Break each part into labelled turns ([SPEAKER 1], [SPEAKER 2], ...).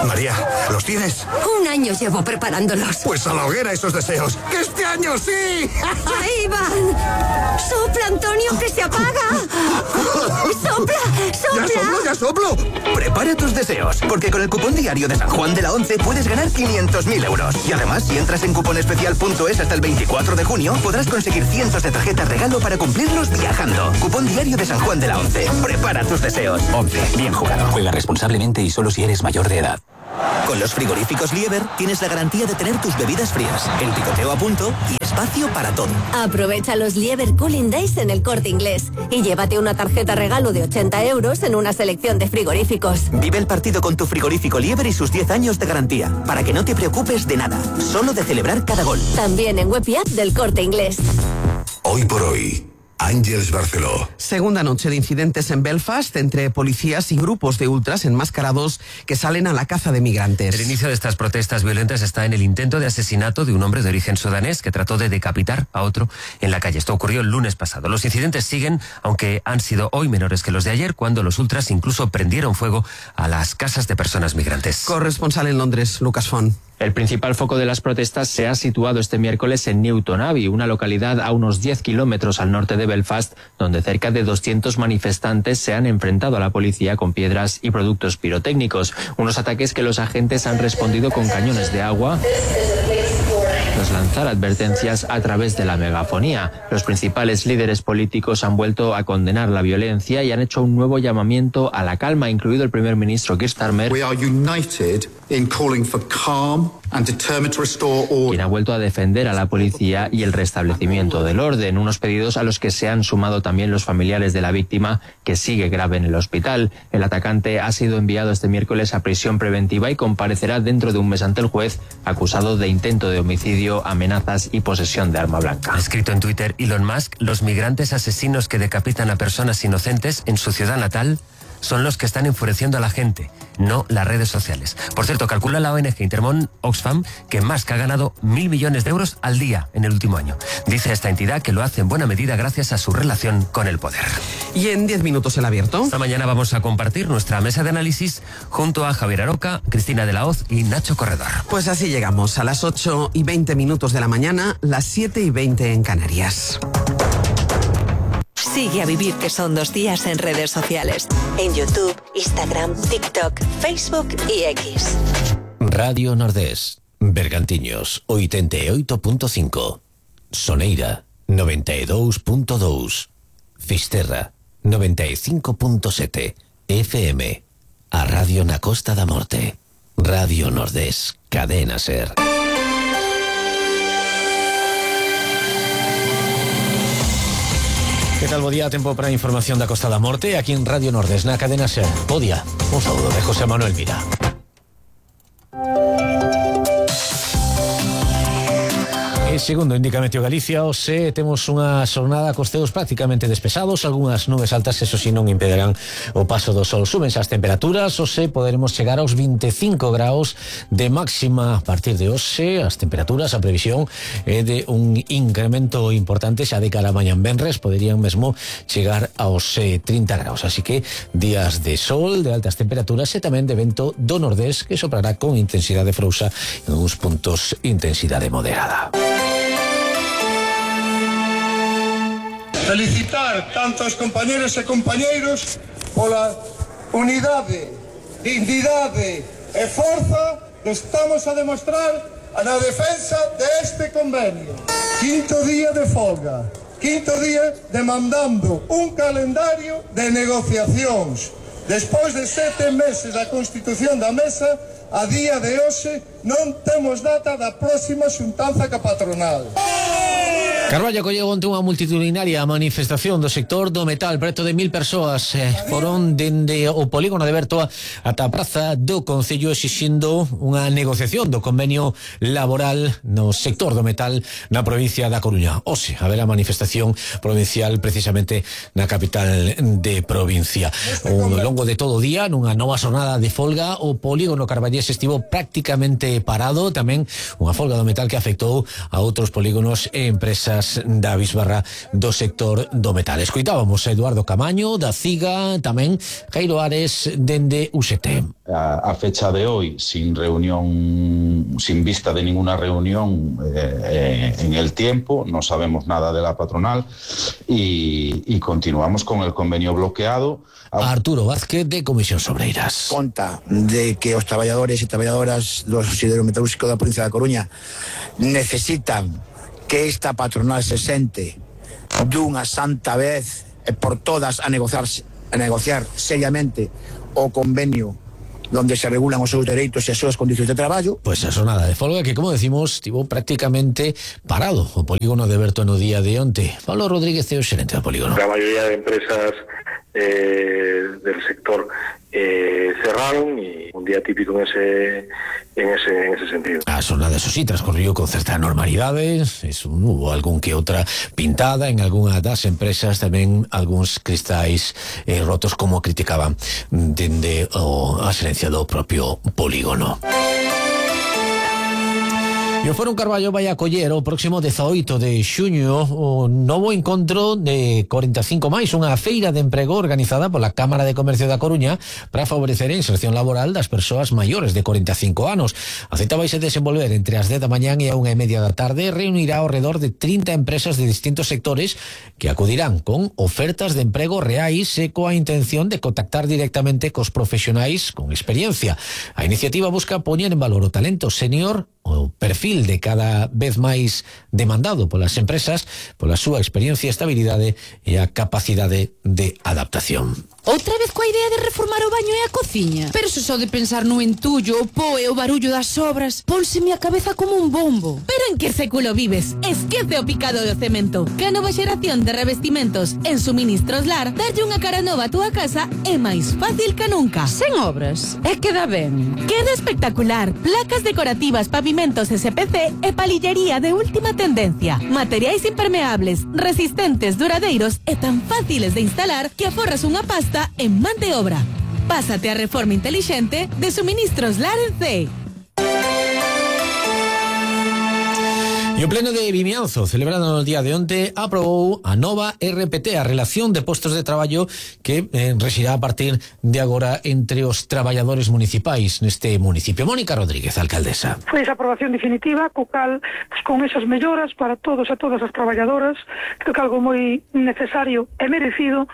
[SPEAKER 1] María, ¿los tienes?
[SPEAKER 2] 1 año llevo preparándolos.
[SPEAKER 1] Pues a la hoguera esos deseos. ¡Que este año sí!
[SPEAKER 2] ¡Ahí van! ¡Sopla, Antonio, que se apaga! ¡Sopla, sopla!
[SPEAKER 1] ¡Ya soplo! Prepara tus deseos, porque con el cupón diario de San Juan de la 11 puedes ganar 500.000 euros. Y además, si entras en cuponespecial.es hasta el 24 de junio, podrás conseguir cientos de tarjetas regalo para cumplirlos viajando. Cupón diario de San Juan de la 11. Prepara tus deseos.
[SPEAKER 3] 11. Bien jugado. Juega responsablemente y solo si eres mayor de edad.
[SPEAKER 4] Con los frigoríficos Lieber tienes la garantía de tener tus bebidas frías, el picoteo a punto y espacio para todo.
[SPEAKER 5] Aprovecha los Lieber Cooling Days en El Corte Inglés y llévate una tarjeta regalo de 80 euros en una selección de frigoríficos.
[SPEAKER 4] Vive el partido con tu frigorífico Lieber y sus 10 años de garantía, para que no te preocupes de nada, solo de celebrar cada gol.
[SPEAKER 5] También en web y app del Corte Inglés.
[SPEAKER 6] Hoy por hoy, Àngels Barceló.
[SPEAKER 7] Segunda noche de incidentes en Belfast entre policías y grupos de ultras enmascarados que salen a la caza de migrantes.
[SPEAKER 8] El inicio de estas protestas violentas está en el intento de asesinato de un hombre de origen sudanés que trató de decapitar a otro en la calle. Esto ocurrió el lunes pasado. Los incidentes siguen, aunque han sido hoy menores que los de ayer, cuando los ultras incluso prendieron fuego a las casas de personas migrantes.
[SPEAKER 7] Corresponsal en Londres, Lucas Font.
[SPEAKER 9] El principal foco de las protestas se ha situado este miércoles en Newton Abbey, una localidad a unos 10 kilómetros al norte de Belfast, donde cerca de 200 manifestantes se han enfrentado a la policía con piedras y productos pirotécnicos. Unos ataques que los agentes han respondido con cañones de agua tras lanzar advertencias a través de la megafonía. Los principales líderes políticos han vuelto a condenar la violencia y han hecho un nuevo llamamiento a la calma, incluido el primer ministro Keir Starmer,
[SPEAKER 10] We are united in calling for calm and determined to restore order.
[SPEAKER 9] Quien ha vuelto a defender a la policía y el restablecimiento del orden, unos pedidos a los que se han sumado también los familiares de la víctima, que sigue grave en el hospital. El atacante ha sido enviado este miércoles a prisión preventiva y comparecerá dentro de un mes ante el juez, acusado de intento de homicidio, amenazas y posesión de arma blanca.
[SPEAKER 8] Ha escrito en Twitter Elon Musk: los migrantes asesinos que decapitan a personas inocentes en su ciudad natal son los que están enfureciendo a la gente, no las redes sociales. Por cierto, calcula la ONG Intermón Oxfam que Musk ha ganado 1.000 millones de euros al día en el último año. Dice esta entidad que lo hace en buena medida gracias a su relación con el poder.
[SPEAKER 7] Y en 10 minutos el abierto.
[SPEAKER 8] Esta mañana vamos a compartir nuestra mesa de análisis junto a Javier Aroca, Cristina de la Hoz y Nacho Corredor.
[SPEAKER 7] Pues así llegamos a las 8:20 de la mañana, las 7:20 en Canarias.
[SPEAKER 11] Sigue a Vivir, que son 2 días en redes sociales. En YouTube, Instagram, TikTok, Facebook y X.
[SPEAKER 12] Radio Nordés, Bergantiños, 88.5. Soneira, 92.2. Fisterra, 95.7. FM. A Radio na Costa da Morte. Radio Nordés, Cadena Ser. Que tal, bo día, tempo para a información da Costa da Morte aquí en Radio Nordés, na Cadena Ser. Bo día, un saúdo de José Manuel Mira. Segundo indica Meteo Galicia, hoxe temos unha xornada cos ceos prácticamente despesados, algunhas nubes altas, eso si non impedirán o paso do sol. Súbense as temperaturas, hoxe poderemos chegar aos 25 graus de máxima a partir de hoxe. As temperaturas, a previsión é de un incremento importante xa de cara a mañán venres, poderían mesmo chegar aos 30 graus, así que días de sol, de altas temperaturas e tamén de vento do nordés que soprará con intensidade frouxa en uns puntos intensidade moderada.
[SPEAKER 13] Felicitar tanto aos compañeros e compañeiros pola unidade, dignidade e forza que estamos a demostrar na defensa deste convenio. Quinto día de folga, quinto día demandando un calendario de negociacións. Despois de 7 meses da constitución da mesa, a día de hoxe non temos data da próxima xuntanza ca patronal.
[SPEAKER 12] Carballo acolleu onte unha multitudinaria manifestación do sector do metal. Preto de 1000 persoas foron dende o polígono de Bertoa ata a praza do Concello exixindo unha negociación do convenio laboral no sector do metal na provincia da Coruña. Hoxe haberá manifestación provincial precisamente na capital de provincia. Ao longo de todo o día, nunha nova xornada de folga, o polígono carballés estivo prácticamente parado. Tamén unha folga do metal que afectou a outros polígonos e empresas empresas da bisbarra do sector do metal. Escoitábamos a Eduardo Camaño da CIGA, tamén Jairo Ares dende UGT.
[SPEAKER 14] A fecha de hoy, sin vista de ninguna reunión en el tiempo, no sabemos nada de la patronal y continuamos con el convenio bloqueado.
[SPEAKER 12] Arturo Vázquez de Comisión Obreiras.
[SPEAKER 15] Conta de que os traballadores e traballadoras do Conselleiro Metalúrxico da provincia da Coruña necesitan que esta patronal se sente dunha santa vez e por todas a negociar seriamente o convenio donde se regulan os seus dereitos e as súas condicións de traballo.
[SPEAKER 12] Pois a xornada de folga que, como decimos, estivo prácticamente parado o polígono de Berto no día de onte. Pablo Rodríguez é o xerente do polígono.
[SPEAKER 16] La mayoría de empresas del sector cerraron y un día típico en ese sentido.
[SPEAKER 12] A xornada, eso sí, transcorrió con certa normalidade. Hubo algún que outra pintada en algunha das empresas, tamén algúns cristais rotos, como criticaban dende a xerencia do propio polígono. E o Fórum Carballo vai acoller o próximo 18 de xuño o novo encontro de 45 máis, unha feira de emprego organizada pola Cámara de Comercio da Coruña para favorecer a inserción laboral das persoas maiores de 45 anos. A cita vai se desenvolver entre as 10 da mañán e a 1:30 da tarde. Reunirá ao redor de 30 empresas de distintos sectores que acudirán con ofertas de emprego reais e coa intención de contactar directamente cos profesionais con experiencia. A iniciativa busca poñer en valor o talento senior, o perfil de cada vez máis demandado polas empresas, pola súa experiencia, estabilidade e a capacidade de adaptación.
[SPEAKER 17] Outra vez coa idea de reformar o baño e a cociña? Pero se só de pensar no entullo, o pó e o barullo das obras, pónseme a cabeza como un bombo. Pero en que século vives? Esquece o picado do cemento. Que a nova xeración de revestimentos en Suministros Lar darlle unha cara nova a túa casa é máis fácil que nunca. Sen obras. E queda ben. Queda espectacular. Placas decorativas, pavimentos SPC e palillería de última tendencia. Materiais impermeables, resistentes, duradeiros e tan fáciles de instalar que aforras unha pasta en man de obra. Pásate a reforma inteligente de Suministros Lar en C.
[SPEAKER 12] E o Pleno de Vimianzo, celebrado no día de onte, aprobou a nova RPT, a Relación de Postos de Traballo, que rexirá a partir de agora entre os traballadores municipais neste municipio. Mónica Rodríguez, alcaldesa.
[SPEAKER 18] Foi esa aprobación definitiva, co cal, con esas melloras para todos e todas as traballadoras, creo que algo moi necesario e merecido.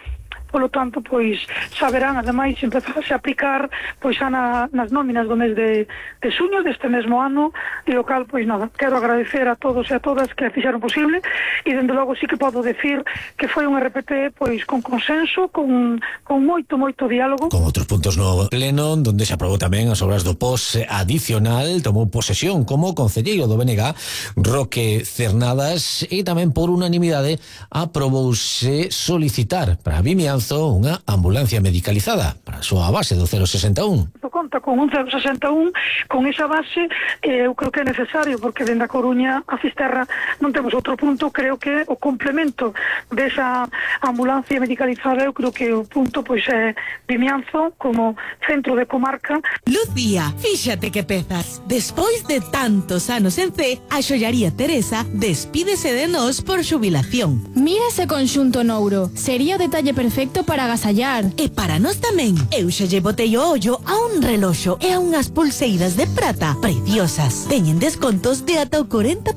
[SPEAKER 18] Polo tanto, pois, saberán, ademais, empezarse a aplicar pois xa nas nóminas do mes de xuño deste mesmo ano, e o cal, pois nada, quero agradecer a todos e a todas que fixeron posible, e dende logo sí que podo decir que foi un RPT pois con consenso, con moito diálogo.
[SPEAKER 12] Con outros puntos no pleno, donde se aprobou tamén as obras do POS adicional, tomou posesión como concelleiro do BNG, Roque Cernadas, e tamén por unanimidade aprobouse solicitar para Vimianzo unha ambulancia medicalizada para a súa base do 061.
[SPEAKER 18] Conta con un 061, con esa base eu creo que é necesario, porque dende a Coruña a Fisterra non temos outro punto. Creo que o complemento desa ambulancia medicalizada, eu creo que o punto pois é Vimianzo como centro de comarca.
[SPEAKER 17] Lucía, fíxate que pezas. Despois de tantos anos en C, a xollaría Teresa despídese de nós por xubilación.
[SPEAKER 19] Mira ese conxunto nouro, sería o detalle perfecto para agasallar.
[SPEAKER 17] E para nós tamén. Eu xa lle botei o ollo a un reloxo e a unhas pulseiras de prata preciosas. Teñen descontos de ata o 40%.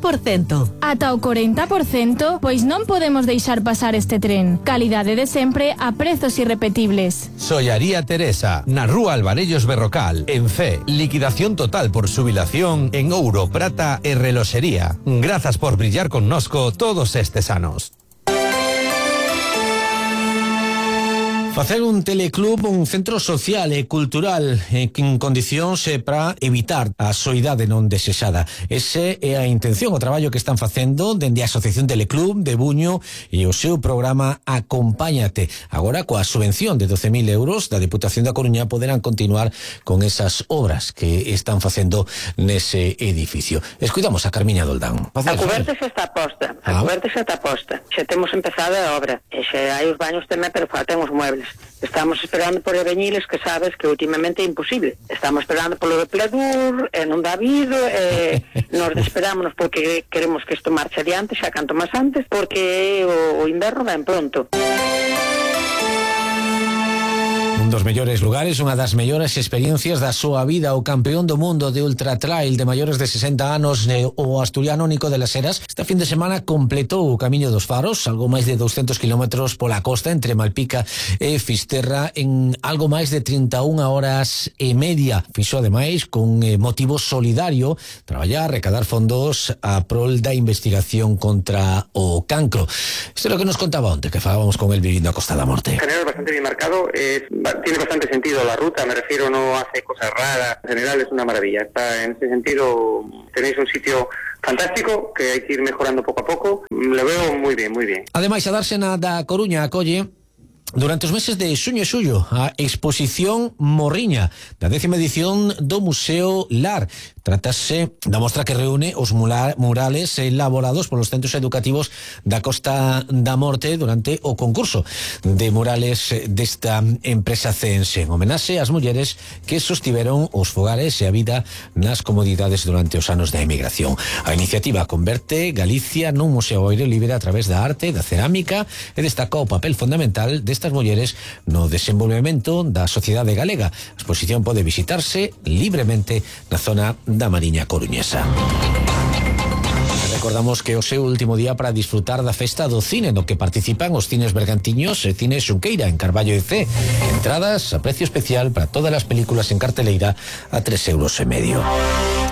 [SPEAKER 19] Ata o 40%? Pois non podemos deixar pasar este tren. Calidade de sempre a prezos irrepetibles.
[SPEAKER 20] Xollaría Teresa, na Rúa Alvarellos Berrocal, en C. Liquidación total por xubilación en ouro, prata e reloxería. Grazas por brillar connosco todos estes anos.
[SPEAKER 12] Facer un teleclub, un centro social e cultural en condicións para evitar a soidade non desexada. Ese é a intención, o traballo que están facendo dende a Asociación Teleclub de Buño e o seu programa Acompáñate. Agora, coa subvención de 12.000 euros da Deputación da Coruña, poderán continuar con esas obras que están facendo nese edificio. Escuidamos a Carmiña Doldán.
[SPEAKER 21] A cuberta xa está posta, xa temos empezada a obra, e xa hai os baños tamén, pero faltan os muebles. Mores. Estamos esperando por Eveñiles, que sabes que últimamente é imposible. Estamos esperando polo de Pledur, non dá habido, nos desesperámonos porque queremos que isto marche adiante, xa canto máis antes, porque o inverno ven pronto.
[SPEAKER 12] Un dos mellores lugares, unha das mellores experiencias da súa vida, o campeón do mundo de ultra trail de maiores de 60 anos, o asturiano Nico de las Heras, este fin de semana completou o Camiño dos Faros, algo máis de 200 kilómetros pola costa entre Malpica e Fisterra en algo máis de 31 horas e media. Fixo ademais con motivo solidario traballar, recadar fondos a prol da investigación contra o cancro. Isto é o que nos contaba onte, que falábamos con el vivindo a Costa da Morte.
[SPEAKER 22] En general bastante bien marcado, tiene bastante sentido la ruta, me refiero, no hace cosas raras, en general es una maravilla. Está, en ese sentido, tenéis un sitio fantástico que hay que ir mejorando poco a poco. Lo veo muy bien, muy bien.
[SPEAKER 12] Ademais, a Dársena da Coruña acolle durante os meses de xuño e xullo a exposición Morriña, da 10ª edición do Museo Lar. Trátase da mostra que reúne os murales elaborados polos centros educativos da Costa da Morte durante o concurso de murales desta empresa ceense, en homenaxe ás mulleres que sostiveron os fogares e a vida nas comodidades durante os anos da emigración. A iniciativa converte Galicia nun museo ao aire libre a través da arte, da cerámica, e destaca o papel fundamental destas mulleres no desenvolvemento da sociedade galega. A exposición pode visitarse libremente na zona da Mariña Coruñesa. Recordamos que o seu último día para disfrutar da festa do cine, no que participan os cines Bergantiños e Cine Xunqueira en Carballo e C. Entradas a precio especial para todas as películas en carteleira a 3,5 euros.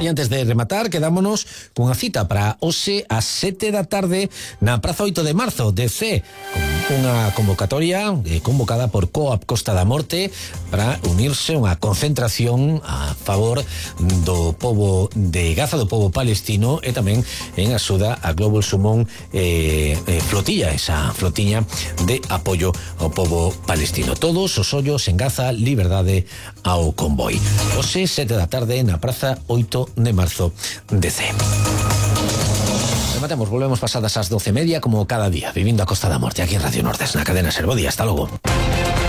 [SPEAKER 12] E antes de rematar, quedámonos cunha cita para hoxe ás 7 da tarde na Praza 8 de Marzo de C, con unha convocatoria convocada por Coop Costa da Morte para unirse a unha concentración a favor do pobo de Gaza, do pobo palestino, e tamén en axuda a Global Sumón Flotilla, esa flotiña de apoio ao pobo palestino. Todos os ollos en Gaza, liberdade ao convoi. Hoxe, 7 da tarde na Praza 8 de Marzo de C. Rematemos, volvemos pasadas as 12:30 como cada día, vivindo a Costa da Morte aquí en Radio Nortes, na cadena Ser. Bo día, hasta logo.